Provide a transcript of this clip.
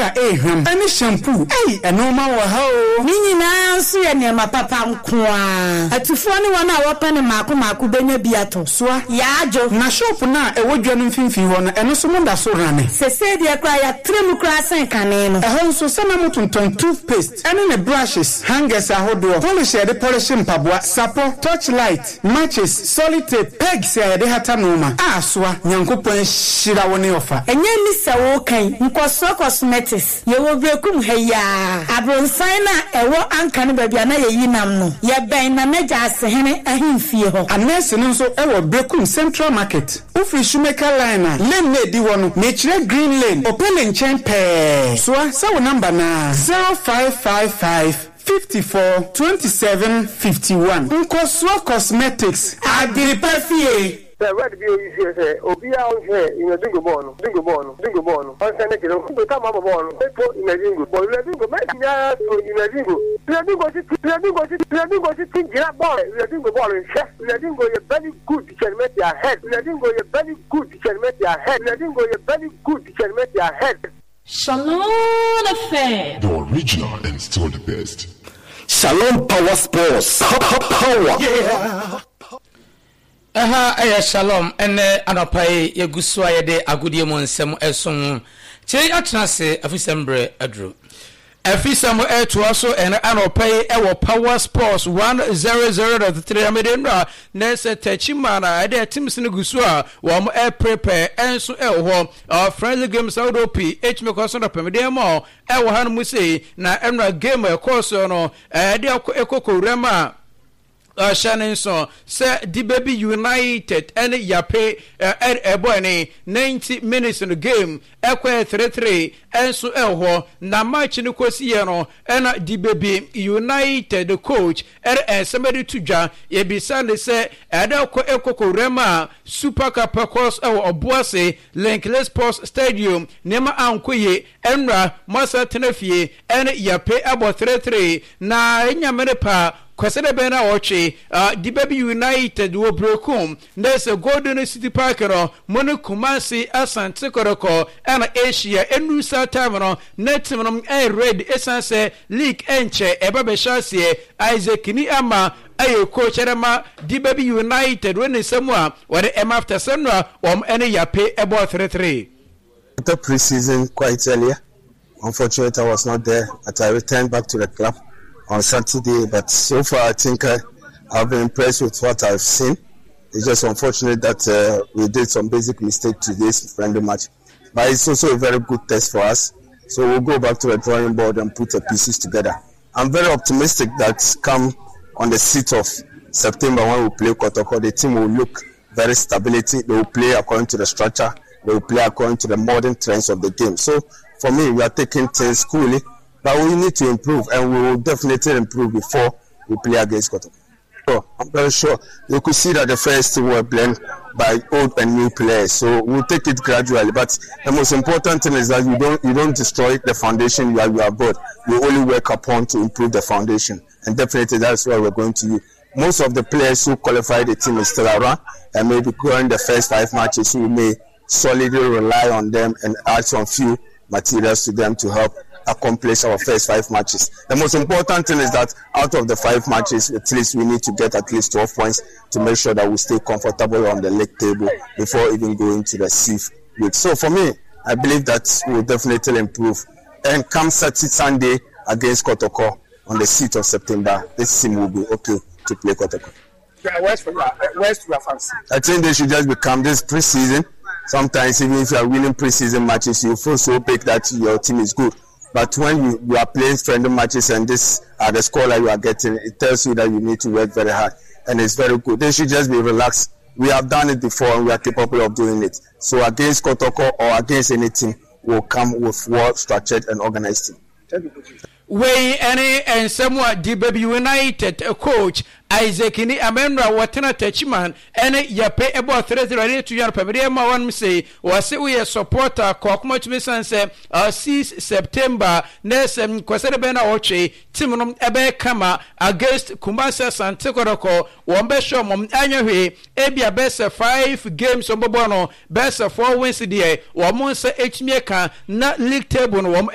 a ɛyɛ hwam ɛne shampoo. Ei, ɛnoɔma wɔ ha oo. Ne nyinaa nso yɛ nneɛma papa nko ara. Atufoɔ ne wɔn a wɔpɛ no mmaako mmaako bɛnya bi atɔ. Soa. Yaa-dwo. Na shop no a ɛwɔ dwa no mfimfini hɔ no, ɛno nso moda so rane? Sesei deɛ koraa yɛatrɛ mu koraa sen kane no. Ɛhɔ nso, sɛ na motontɔn toothpaste ɛne ne brushes, hangers ahodoɔ, polish a yɛde pɔlehye mpaboa, sapɔ, torch light, matches, solid tape, pegs a yɛde hata nnoɔma. A Soa, Nyankopɔn ahyira wo ne ɔfa. Ɛnyɛ ni sɛ woreka yi, Nkɔsoɔ Cosmetics, yɛwɔ Berekum ha yi ara, abronsan no a ɛwɔ Anka no baabi a na yɛyi nam no, yɛbɛn Nana Gyaasehene ahemfie hɔ. Anɛɛse no nso wɔ Berekum Central Market. Wofiri Shoemaker Line a, lane no a ɛdi hɔ no, mekyerɛ Green Lane, Opele nkyɛn pɛɛ. Soa, sɛ wo number no ara, 0555 54 27 51. Nkɔsoɔ Cosmetics, Adepa Fie. Sɛ word bi oyi sie sɛ obiara ɔnhwɛ Inadingo bɔɔl no, dingo bɔɔl no, dingo bɔɔl no, ɔnsɛn ne kyerɛ nko tam abɔ bɔɔl no, epo Inadingo bɔ Inadingo mɛ nyinaa so Inadingo, Inadingo titi, Inadingo titi, Inadingo titi gyina bɔɔl, Inadingo bɔɔl nhwɛ, Inadingo yɛ very good kyɛn Messi ahead, Inadingo yɛ very good kyɛn Messi ahead, Inadingo yɛ very good kyɛn Messi ahead. Shalom FM. The original and still the best. Shalom Power Sports Power. Yeah. Ɛha yɛ Shalom ɛnɛ anɔpa yi yɛgu so a yɛde agodie mu nsɛm ɛsom kyei atena ase afisɛm berɛ aduru. Afisɛm ɛtoa so ɛnɛ anɔpa yi ɛwɔ Power Sports 100.3 amede nnura na ɛsɛ Techiman a ɛde teams no gu so a wɔn ɛprepare ɛnso ɛwɔ hɔ friendly games ahodoɔ pii ɛtumi kɔ so dɔpɛmdeɛ ma ɛwɔ ha no mu sei na ɛnura game ɛkɔɔ so no ɛde ɛkɔ kɔwura mu a Hyɛ no nso sɛ Dibebi United ne Yape ɛbɔe ne 90 minutes no game ɛkɔɛ 3-3 nso ɛwɔ hɔ. Na match no kɔsiiɛ no ɛna Dibebi United coach ɛde nsɛm ɛde to dwa. Yɛbisa no sɛ ɛde kɔ ɛkɔ kɔwura mu a Super Cup ɛkɔɔ so ɛwɔ Ɔboase Linkley Sports Stadium nneɛma ankɔ yie. Ɛnora moasan tena fie ɛne Yape abɔ 3-3 na ɛnya mene pa Kwasida bɛn na wɔtwe Dibabi United wɔ Berekum na sɛ Golden City Park no mo ne Kumasi Asante Kɔtɔkɔ ɛna ɛhyia. Ɛnuru saa time no na team no ɛyɛ ready ɛsiane sɛ league ɛnkyɛ ɛba bɛhyɛ aseɛ. Isaac Ni Ama ɛyɛ coach ɛde ma Dibabi United wɔ ne nsɛm a wɔde ɛma after sɛ no a wɔn ɛne Yape ɛbɔɔ 3-3. The pre-season quite earlier. Unfortunately, I was not there, but I returned back to the club on Saturday. But so far, I think I've been impressed with what I've seen. It's just unfortunate that we did some basic mistake today's friendly match. But it's also a very good test for us. So we'll go back to the drawing board and put the pieces together. I'm very optimistic that come on the 6th of September when we play Kotoko, the team will look very stability. They will play according to the structure. They will play according to the modern trends of the game. So for me, we are taking things coolly, but we need to improve, and we will definitely improve before we play against Kotoko. So I'm very sure you could see that the first team were blend by old and new players. So we'll take it gradually. But the most important thing is that you don't destroy the foundation you have built. You only work upon to improve the foundation, and definitely that's what we're going to use. Most of the players who qualify the team is still around, and maybe during the first 5 matches we may solidly rely on them and add some few materials to them to help accomplish our first 5 matches. The most important thing is that out of the 5 matches, at least we need to get at least 12 points to make sure that we stay comfortable on the league table before even going to the CIF week. So for me, I believe that we'll definitely improve. And come Saturday, Sunday against Kotoko on the 6th of September, this team will be okay to play Kotoko. Where's your fans? I think they should just become this pre-season. Sometimes even if you are winning pre-season matches, you feel so big that your team is good. But when you are playing friendly matches and this are the score that you are getting, it tells you that you need to work very hard. And it's very good. They should just be relaxed. We have done it before and we are capable of doing it. So against Kotoko or against any team, we'll come with well-structured and organized team. Thank you, Coach. Wei ne nsɛm a Dibabi United coach Isaac ni Amenra wɔtena Techiman ne Yape bɔɔ 3-0 de to dwa no pɛmɛdeɛ ma wɔnom sei wɔse woyɛ supporter kɔ akoma tumi sane sɛ 6 September na sɛ kwasɛde bɛn na wɔtwe team no ɛbɛyɛ kama against Kumasi Asante Kɔtɔkɔ wɔn bɛhyɛ wɔn anyɛ hwee ebia bɛyɛ sɛ 5 games wɔn bɛbɔ no bɛyɛ sɛ 4 wins deɛ wɔn nsa etumi ka na league table no wɔn.